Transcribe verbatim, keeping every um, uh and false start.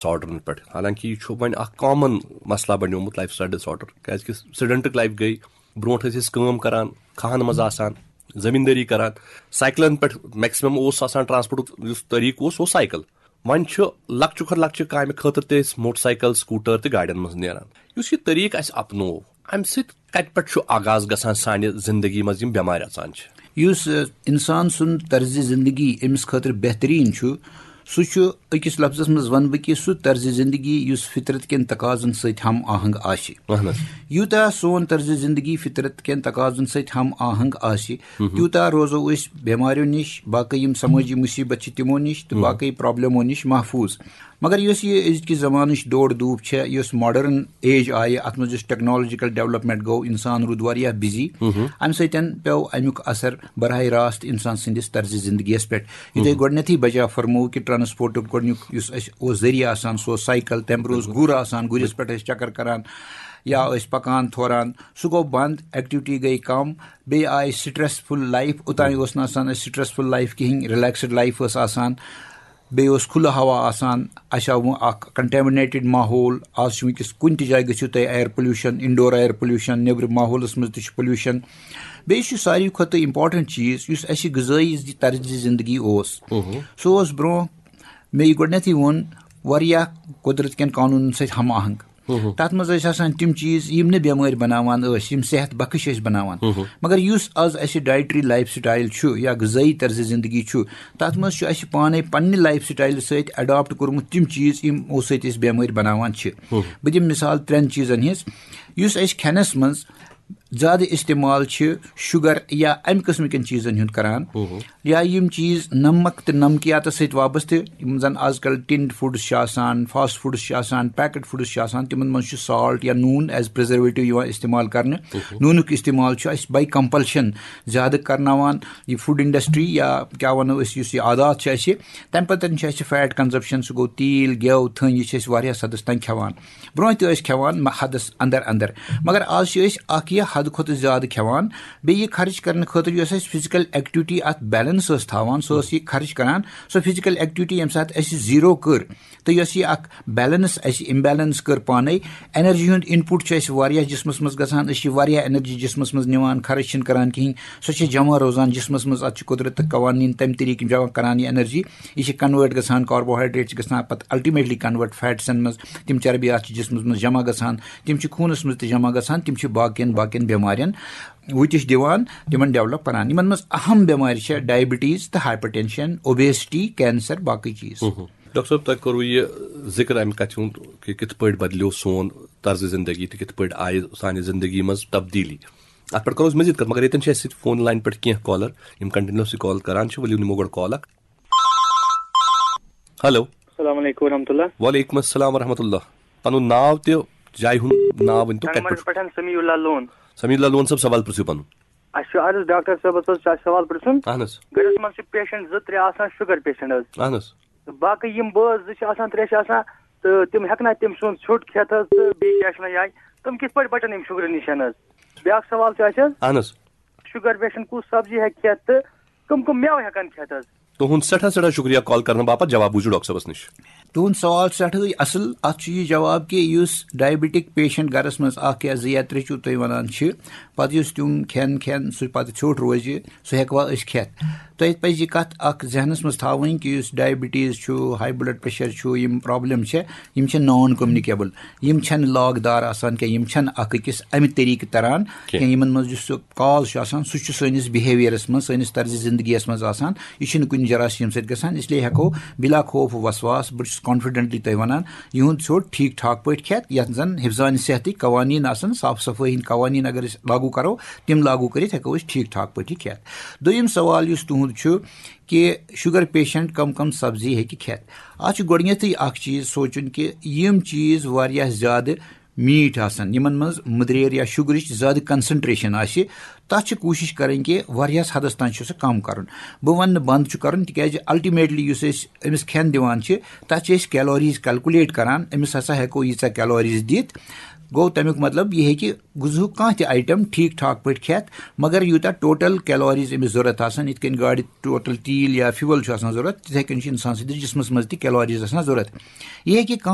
ڈس آرڈرن پٮ۪ٹھ، حالانکہ یہِ چھُ وۄنۍ اکھ کامن مسئلہ بنیومُت، لایف سٹایل ڈس آرڈر، کیازِ کہِ سیڈنٹک لایف گٔے۔ برونٛٹھ ٲسۍ أسۍ کٲم کران، کھاہن منٛز آسان، زٔمیٖندٲری کران، سایکلن پٮ۪ٹھ میکسیمم اوس آسان ٹرانسپورٹُک یُس طریٖقہٕ اوس، سُہ اوس سایکل۔ وۄنۍ چھُ لۄکچہِ کھۄتہٕ لۄکچہِ کامہِ خٲطرٕ تہِ أسۍ موٹر سایکل، سکوٗٹر تہٕ گاڑٮ۪ن منٛز نیران۔ یُس یہِ طریٖقہٕ اَسہِ اپنوو، اَمہِ سۭتۍ کَتہِ پٮ۪ٹھ چھُ آغاز گژھان سانہِ زندگی منٛز یِم بٮ۪مارِ اژان چھِ؟ یُس، ٲ، اِنسان سُنٛد طرزِ زندگی أمِس خٲطرٕ بہتریٖن چھُ، سُہ چھُ أکِس لفظس منٛز وَنہٕ بہٕ کہِ سُہ طرزِ زندگی یُس فطرت کٮ۪ن تقاضن سۭتۍ ہم آہنگ آسہِ۔ اہن حظ۔ یوٗتاہ سون طرزِ زندگی فطرت کٮ۪ن تقاضن سۭتۍ ہم آہنگ آسہِ، تیوٗتاہ روزو أسۍ بٮ۪ماریو نِش، باقٕے یِم سمٲجی مُصیٖبت چھِ تِمو نِش تہٕ باقٕے پرابلمو نِش محفوٗظ۔ مگر یۄس یہِ أزکہِ زمانٕچ دورٕ دوٗپ چھےٚ، یۄس ماڈرن ایج آیہِ، اتھ منٛز یۄس ٹیکنالوجیکل ڈیولپمنٹ گوٚو، انسان روٗد واریاہ بِزی۔ امہِ سۭتۍ پیوٚو امیُک اثر براہ راست انسان سٕنٛدِس طرزِ زندگیس پٮ۪ٹھ۔ یِتھے گۄڈٕنیتھٕے بجا فرموو کہِ ٹرانسپورٹُک گۄڈٕنیُک یُس اَسہِ اوس ذٔریعہٕ آسان، سُہ اوس سایکل، تمہِ برونٛہہ اوس گُر آسان، گُرِس پٮ۪ٹھ ٲسۍ چکر کران یا ٲسۍ پکان تھوران، سُہ گوٚو بنٛد، ایکٹیویٹی گٔے کم، بیٚیہِ آیہِ سٹریس فُل لایف۔ اوٚتانۍ اوس نہٕ آسان اَسہِ سٹریس فُل لایف کِہیٖنۍ، رِلیکسڈ لایف ٲس آسان، بیٚیہِ اوس کھُلہٕ ہوا آسان۔ اَسہِ آو وۄنۍ اکھ کنٹیمنیٹڈ ماحول۔ آز چھُ وٕنکیٚس کُنہِ تہِ جایہِ گٔژھِو تُہۍ، air pollution, indoor air pollution, نیٚبرٕ ماحولس منٛز تہِ چھُ پولیوشن۔ بیٚیہِ چھُ ساروی کھۄتہٕ امپورٹنٹ چیٖز، یُس اَسہِ غذٲیی زِ طرزِ زندگی اوس، سُہ اوس برونٛہہ، مےٚ یہِ گۄڈٕنیتھٕے ووٚن، واریاہ قۄدرت کٮ۪ن قونوٗنن سۭتۍ ہم آہنگ۔ تتھ منٛز ٲسۍ آسان تِم چیٖز یِم نہٕ بٮ۪مٲرۍ بناوان ٲسۍ، یِم صحت بخش ٲسۍ بناوان۔ مگر یُس از اَسہِ ڈایٹری لایف سٹایل چھُ یا غذٲیی طرزِ زندگی چھُ، تتھ منٛز چھُ اَسہِ پانے پننہِ لایف سٹایلہٕ سۭتۍ اڈاپٹ کوٚرمُت تِم چیٖز یِمو سۭتۍ أسۍ بٮ۪مٲرۍ بناوان چھِ۔ بہٕ دِمہٕ مثال ترٛٮ۪ن چیٖزن ہٕنٛز۔ یُس أسۍ کھٮ۪نس منٛز زیادٕ استعمال چھِ شُگر یا امہِ قٕسمہٕ کٮ۪ن چیٖزن ہُنٛد کران، یا یِم چیٖز نمک تہٕ نمکیاتس سۭتۍ وابستہٕ، یِم زن آز کل ٹِنڈ فوڈس چھِ آسان، فاسٹ فوڈس چھِ آسان، پیکڈ فوڈس چھِ آسان، تِمن منٛز چھُ سالٹ یا نوٗن ایز پرزرویٹو یِوان استعمال کرنہٕ۔ نوٗنُک استعمال چھُ اَسہِ باے کمپلشن زیادٕ کرناوان۔ یہِ فوڈ انڈسٹری یا کیٛاہ وَنو أسۍ، یُس یہِ عادات چھِ اَسہِ، تَمہِ پَتہٕ چھِ اَسہِ فیٹ کنزمپشن، سُہ گوٚو تیٖل، گٮ۪و، تھٔنۍ، یہِ چھِ أسۍ واریاہ حدس تام کھٮ۪وان۔ برونٛہہ تہِ ٲسۍ کھٮ۪وان مہ-، حدس اندر اندر، مگر آز چھِ أسۍ اکھ یہِ حد کھۄتہٕ زیادٕ کھٮ۪وان۔ بیٚیہِ یہِ خرٕچ کرنہٕ خٲطرٕ یۄس اَسہِ فزیکل ایکٹیویٹی اتھ بیلنس ٲس تھاوان، سۄ ٲس یہِ خرٕچ کران۔ سۄ فزیکل ایکٹیویٹی ییٚمہِ ساتہٕ اَسہِ زیٖرو کٔر، تہٕ یۄس یہِ اکھ بیلنس اَسہِ امبیلنس کٔر پانے، انرجی ہُنٛد انپوٹ چھُ اَسہِ واریاہ جسمس منٛز گژھان، أسۍ چھِ واریاہ انرجی جسمس منٛز نِوان، خرٕچ چھِنہٕ کران کِہیٖنۍ، سۄ چھِ جمع روزان جسمس منٛز۔ اتھ چھِ قۄدرت تہٕ قوانین تمہِ طریٖقہٕ جمع کران یہِ انرجی۔ یہِ چھِ کنوٲرٹ گژھان، کاربوہائیڈریٹ چھِ گژھان پتہٕ الٹیمیٹلی کنوٲرٹ فیٹسن منٛز، تِم چربیات چھِ جسمس منٛز جمع گژھان، تِم چھِ خوٗنس منٛز تہِ جمع گژھان، تِم چھِ باقین باقین بٮ۪مارٮ۪ن وُتِش دِوان، تِمن ڈیولپ کران۔ یِمن منٛز اہم بٮ۪مارِ چھےٚ ڈائبٹیز تہٕ ہائپرٹینشن، اوبیسٹی، کینسر، باقٕے چیٖز۔ ڈاکٹر صٲب، تۄہہِ کوٚروٕ یہِ ذِکر اَمہِ کَتھِ ہُنٛد کہِ کِتھ پٲٹھۍ بدلیو سون طرزِ زندگی تہٕ کِتھ پٲٹھۍ آیہِ سانہِ زندگی منٛز تبدیٖلی۔ اَتھ پٮ۪ٹھ کَرو أسۍ مٔزیٖد کَتھ، مگر ییٚتٮ۪ن چھِ اَسہِ سۭتۍ فون لاین پٮ۪ٹھ کینٛہہ کالر، یِم کنٹینیوسلی کال کران چھِ۔ ؤلِو نِمو گۄڈٕ کال اکھ۔ ہیلو۔ السلام علیکم ورحمۃ اللہ۔ وعلیکم السلام ورحمۃ اللہ۔ پَنُن ناو تہِ جایہِ ہُنٛد ناو ؤنۍ تو، کَتہِ پٮ۪ٹھ؟ پٮ۪ٹھ سمیع اللہ لون۔ سمیع اللہ لون صٲب، سوال پرٛژھِو پَنُن۔ اَسہِ چھُ عرض ڈاکٹر صٲبَس حظ، چھُ اَسہِ سوال پرٛژھُن۔ اَہَن حظ۔ گَرَس منٛز چھِ پیشنٹ زٕ ترٛےٚ آسان، شُگر پیشنٹ حظ۔ اَہَن حظ۔ تہٕ باقٕے یِم بٲژ زٕ چھِ آسان، ترٛےٚ چھِ آسان، تہٕ تِم ہٮ۪کنا تٔمۍ سُنٛد ژھیوٚٹ کھٮ۪تھ حظ، تہٕ بیٚیہِ کیٛاہ چھِ وَنان یہِ، تِم کِتھ پٲٹھۍ بَچَن اَمہِ شُگرٕ نِش حظ؟ بیٛاکھ سوال چھُ اَسہِ حظ، اَہَن حظ۔ شُگر پیشنٹ کُس سبزی ہیٚکہِ کھٮ۪تھ تہٕ کٕم کٕم مٮ۪وٕ ہٮ۪کَن کھٮ۪تھ حظ؟ تُہُنٛد سٮ۪ٹھاہ سٮ۪ٹھاہ شُکریہ کال کرنہٕ باپتھ۔ جواب بوٗزِو ڈاکٹر صٲبَس نِش۔ تُہُنٛد سوال چھُ سٮ۪ٹھٕے اَصٕل۔ اَتھ چھُ یہِ جواب کہِ یُس ڈائبٹک پیشنٹ گَرَس منٛز اَکھ یا زٕ یا ترٛےٚ چھُو تُہۍ وَنان چھِ، پَتہٕ یُس تِم کھٮ۪ن کھٮ۪ن سُہ پَتہٕ ژھیوٚٹ روزِ، سُہ ہٮ۪کوا أسۍ کھٮ۪تھ؟ تۄہہِ پَزِ یہِ کَتھ اَکھ ذہنَس منٛز تھاوٕنۍ کہِ یُس ڈائبٹیز چھُ، ہاے بلڈ پریشر چھُ، یِم پرابلم چھِ، یِم چھِ نان کمیونیکیبل، یِم چھَنہٕ لاگ دار آسان کینٛہہ، یِم چھَنہٕ اَکھ أکِس اَمہِ طریٖقہٕ تَران کینٛہہ۔ یِمَن منٛز یُس سُہ کاز چھُ آسان، سُہ چھُ سٲنِس بِہیویرَس منٛز، سٲنِس طرزِ زِندگیَس منٛز آسان۔ یہِ چھُنہٕ کُنہِ جراثیم سۭتۍ گژھان، اس لیے ہٮ۪کو بِلا خوف وسواس، بہٕ چھُس کانفیڈنٹلی تۄہہِ وَنان، یِہُنٛد ژھیوٚٹ ٹھیٖک ٹھاک پٲٹھۍ کھٮ۪تھ، یَتھ زَن حفظان صحتٕکۍ قوانیٖن آسَن، صاف صفٲیی ہِنٛدۍ قوانیٖن اگر أسۍ لاگوٗ کَرو، تِم لاگوٗ کٔرِتھ ہٮ۪کو أسۍ ٹھیٖک ٹھاک پٲٹھۍ کھٮ۪تھ۔ دوٚیِم سوال یُس تُہُنٛد چھُ کہِ شُگر پیشنٹ کَم کَم سبزی ہیٚکہِ کھٮ۪تھ، اَتھ چھُ گۄڈٕنٮ۪تھٕے اَکھ چیٖز سونٛچُن کہِ یِم چیٖز واریاہ زیادٕ میٖٹھۍ آسَن، یِمَن منٛز مٔدریر یا شُگرٕچ زیادٕ concentration آسہِ، تَتھ چھِ کوٗشِش کَرٕنۍ کہِ واریاہَس حدَس تام چھُ سُہ کَم کَرُن۔ بہٕ وَنہٕ نہٕ بنٛد چھُ کَرُن، تِکیٛازِ ultimately یُس أسۍ أمِس کھٮ۪ن دِوان چھِ، تَتھ چھِ أسۍ calories calculate کَران، أمِس ہسا ہٮ۪کو ییٖژاہ calories دِتھ۔ گوٚو، تَمیُک مطلب یہِ ہیٚکہِ غذہُک کانٛہہ تہِ item ٹھیٖک ٹھاک پٲٹھۍ کھٮ۪تھ، مگر یوٗتاہ total calories أمِس ضوٚرَتھ آسَن، یِتھ کٔنۍ گاڑِ total تیٖل یا fuel چھُ آسان ضوٚرَتھ، تِتھَے کٔنۍ چھُ اِنسان سٕنٛدِس جسمَس منٛز تہِ calories آسان ضوٚرَتھ۔ یہِ ہیٚکہِ کانٛہہ